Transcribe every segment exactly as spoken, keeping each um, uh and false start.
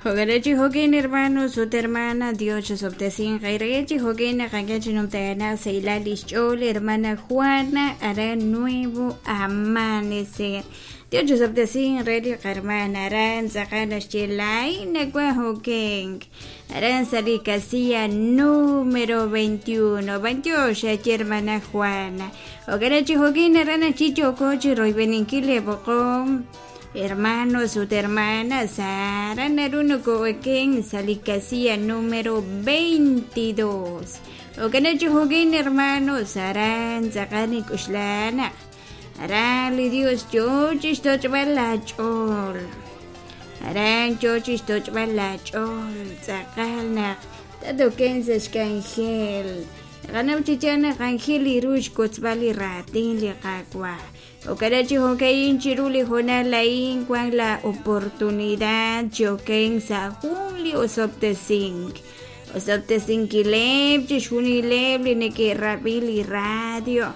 Jogarechi jokin hermanos ut hermana Dios chosoptesin qairechi jokin naqankachi numtagana seilal ixch'ol hermana Juana hará nuevo amanecer. Dios chosoptesin reli qarmana aran tz'aqal axchilay nakua jokin aran sali casilla número veintiuno veintiocho hermana Juana. Jogarechi jokin aran chicho kochi roibeninkile boqom hermanos ut hermanas Sara naruno koeken sali casilla número veintidós. Okanachi jokin hermanos aran tz'aqani k'uxlana aran li Dios chochix toch'b'al la ch'ol aran chochix toch'b'al la ch'ol tz'aqal naq tatoken sa xk'anjel naqanaw chichana q'anjel iruux kotzb'al li ratin li qakwa. Okarachi jokein chiruli jonalain cuan la oportunidad choken sa junli osoptesink. Osoptesinkileb, chishunileb, lineke rabili radio,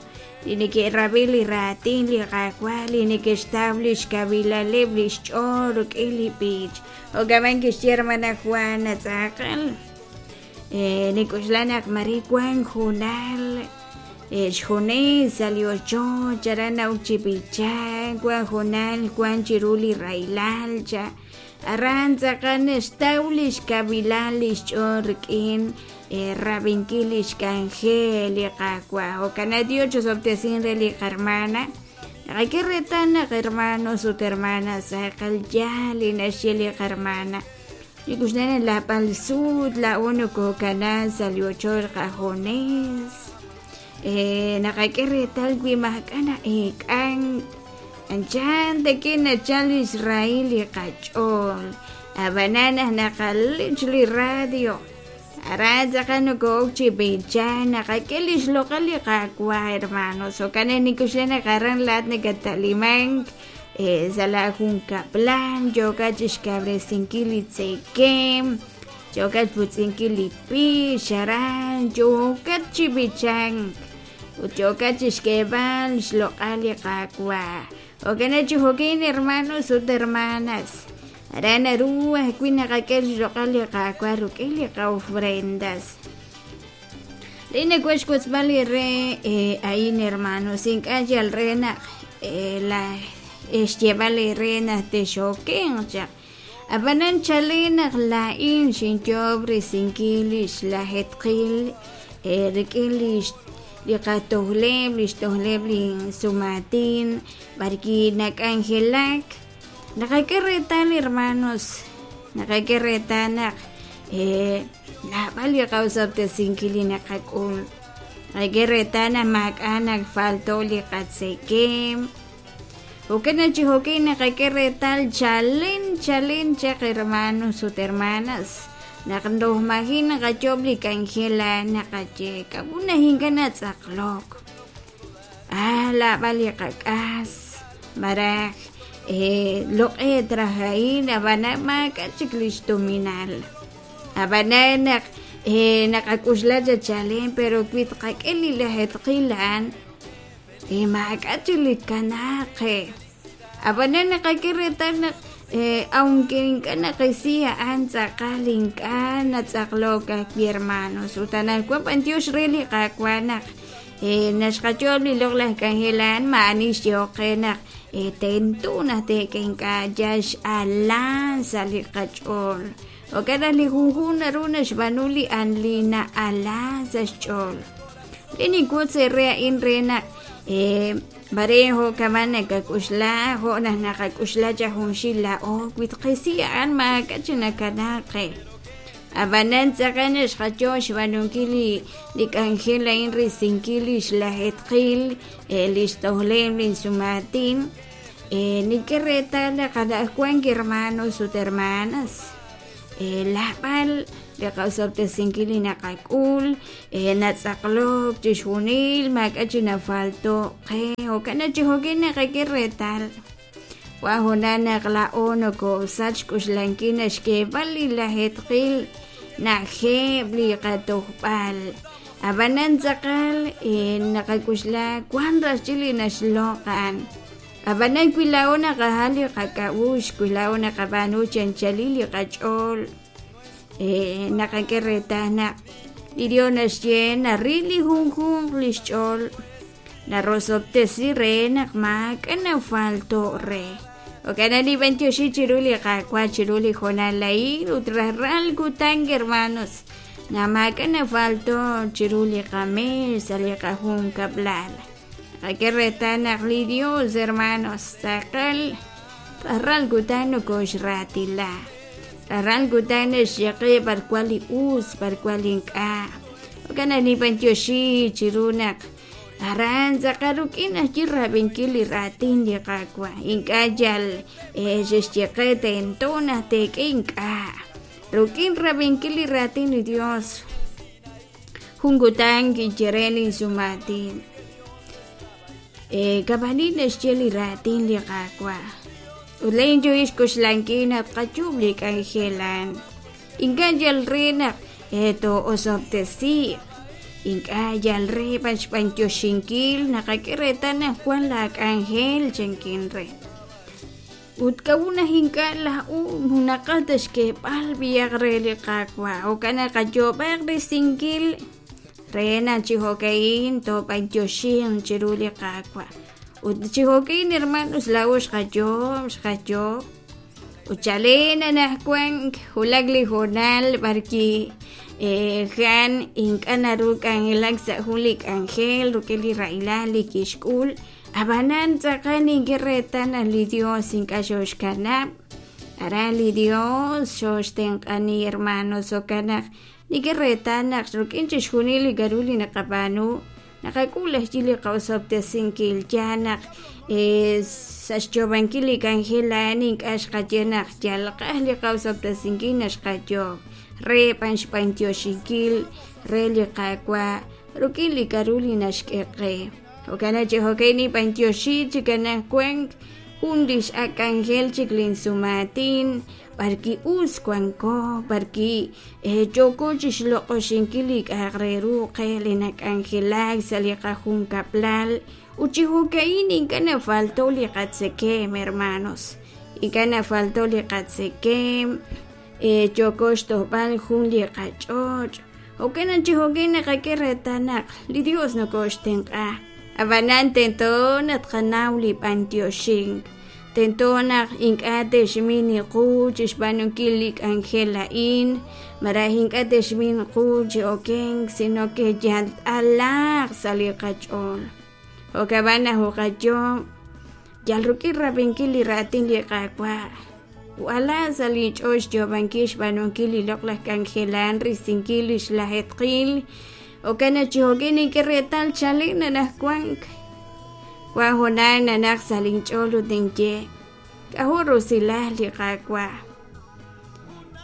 lineke rabili ratin, li qakwa, lineke establish kabilaleb, lishchoruk, ilipich. Okaman kishiermana Juana tzaqal. Eh, nikuxlanak marikuan junal. Xjones salió yo, charana uchipicha, cuan jonal, cuan chiruli railalcha, arranza canes taulish kabilalish chorkin, rabinkilish cangel, cacua, o canadiocho sobtesin reli hermana, aquí retana hermanos o hermanas, sacal yali nashili hermana. Y la palsud, la uno cocana salió chorca jones. Eh, nakakeretal wimakana ekan anchan de kina chal Israel y kachol abanana nakalich li radio aranza kano kochi bichan nakakelis local y kakwa hermanos o kanenikushena karan lat nekatalimang eh sala junka plan yokachish cabresinquili tsekem yokat putzinkili pi sharan yokat chibichan yokat xkeban xloqali qakwa okanachi jokin hermanos ut hermanas arana ruwa kuina qakel xloqali qakwa ruk'ili qa ofrendas lina kuexkutzbali re eh, ain hermanos ink'ay al rena eh, la exyebali rena te xokin chaq abanan chalina lain xinyob risinkilish lajetqil eh, rik'ilish liqatohleb lixtohleb lin sumatin barki nakangelak naqakeretal hermanos naqakeretanaq eh nab'al liqawsabtesinkili naqak'ul naqakeretana mak'anak falto liqatsekem Okena chihokin naqakeretal chalen chalen chaq hermanos ut hermanas naqndohmajin naqachob likanjela naqache kabuna hinkana tz'aqlok ah la bali qak'as maraj eh loq'e trajain abana mak'achik lixtuminal abana naq eh naqak'uxla chalen pero kwit qak'el lajetqilan eh mak'achik likanaqe abana naqakeretal naq Eh, aunque inkana qisia antzaqal inkana tzaqloka hermanos utanalkuan Dios reli qakuanaq eh, naxqachol liloq kanjelan maanix yoqenaq eh, tentuna tekenka yax alan saliqach'ol okana lijunjun runa xbanuli anlina alan saxch'ol linikutse rea inrena eh, Barejo kamana kakushla ho na nakakushla jahunshila o witqisia an makachina kanaqe abanan tzaqan xqacho xbanunkili likanjela in risinkili xlajetqil lixtohlem linsumatin eh, nikereta qadajkuan hermanos ut hermanas eh, lapal liqawsabtesinkili naqak'ul eh, natz'aqlok chixjunil mak'achi nafalto qe okanachi jokin naqakiretal wajuna naqla'o nokosach k'uxlankina xkeb'al lilajetqil najeb liqatojb'al abanan tz'aqal eh, naqak'uxla kuan raxchili naxloqan Ab'anan wi laa'o naqajal li qak'a'uxl wi laa'o naqab'aanu chi anchalil li qach'ool eh, naqak'e reetal naq li Dios naxye naril li junjunq li xch'ool narosob'tesi re naq maak'a' nafalto' re. Jo'kan nib'antioxi chiru li Qaawa' chiru li hoonal a'in ut rajlal kutan hermanos naq maak'a' nafalto' chiru li qamees sa' li qajunkab'lal. Qak'e reetal naq li Dios hermanos tz'aqal rajlal kutan nokoxraatila rajlal kutan naxye qe b'ar wan li us b'ar wan li ink'a'. Jo'kan naq nib'antioxi chiru naq aran tz'aqal rik'in ajwi' rab'inkil li raatin li Qaawa' ink'a' yal xexye qe tento naq teek'e ink'a' rik'in rab'inkil li raatin li Dios jun kutan kinye re linsumaatin eh, kab'anin naxye li raatin li Qaawa' ut lain yo xk'oxlankil naq tqayuub' li k'anjel a'an ink'a' yal re naq eh, too'osob'tesiiq ink'a' yal re b'an xb'antioxinkil naqak'e reetal naq wan la k'anjel chankin re ut k'a'ut naq ink'a' laa'u naqaj ta xk'eeb'al b'ihaq re li Qaawa' jo'kan naq qayoob'aq risinkil re naq chi jo'ka'in toob'antioxinq chiru li Qaawa' ut chi jo'ka'in hermanos laa'o xqayoob' xqayoob' ut chalen anaqwan wulak li hoonal b'arki eh, jan ink'a' naru k'anjelak sa' jun li k'anjel rik'in li rahilal li kixk'ul ab'anan tz'aqal nink'e reetal naq li Dios ink'a' xoxkanab' aran li Dios xoxtenq'ani hermanos jo'kan naq nink'e reetal naq rik'in chixjunil li k'a'ru li naqab'aanu naqak'ul ajwi' li qaosob'tesinkil yaal naq eh, sa' xyoob'ankil li k'anjel a'an ink'a' xqaye naq yal qaj li qaosob'tesinkil naq xqayoob' re b'an xb'antioxinkil re li Qaawa' rik'in li k'a'ru li naxk'e qe. Jo'kan naq chi jo'kan nib'antioxi chik anaqwan jun li x'ak' k'anjel chik linsumaatin b'arki us wanko b'arki eh, yooko chixloq'oxinkil li k'a'aq re ru qe li nak'anjelak sa' li qajunkab'lal ut chi jo'ka'in ink'a' nafalto' li qatzekemq hermanos ink'a' nafalto' li qatzekemq eh, yooko xtojb'al jun li qach'och' jo'kan naq chi jo'kan naqak'e reetal naq li Dios nokoxtenq'a ab'anan tento naq tqanaw li b'antioxink tento naq ink'a' te'xmin qu chi xb'aanunkil li k'anjel a'in malaj ink'a' te'xmin qu chi okenk sino que yal t'alaaq sa' li qach'ool jo'kan naq uqayoob' yal rik'in rab'inkil li raatin li Qaawa' wala sa' li ch'ool xyoob'ankil xb'aanunkil li loq'laj k'anjel a'an risinkil li xlajeetqil jo'kan naq chi jo'kan nink'e reetal chalen anaqwan wan hoonal nanaq sa' linch'ool ut ninye k'a'jo' rusilal li Qaawa'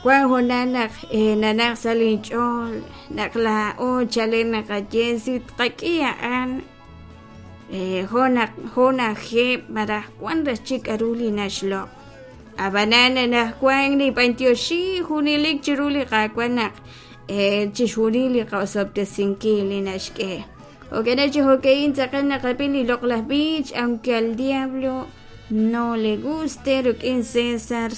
wan hoonal naq eh, nanaq sa' linch'ool naq laa'o chalen naqaye si tqak'i a'an eh, jo' naq jo' najeb' malaj wan raj chik k'a'ru li naxloq' ab'anan anaqwan nib'antioxi junelik chiru li Qaawa' naq eh, chixjunil li qaosob'tesinkil li naxk'e. Jo'kan naq chi jo'ka'in tz'aqal naqab'i li loq'laj b'ich aunque al diablo no le guste rik'in César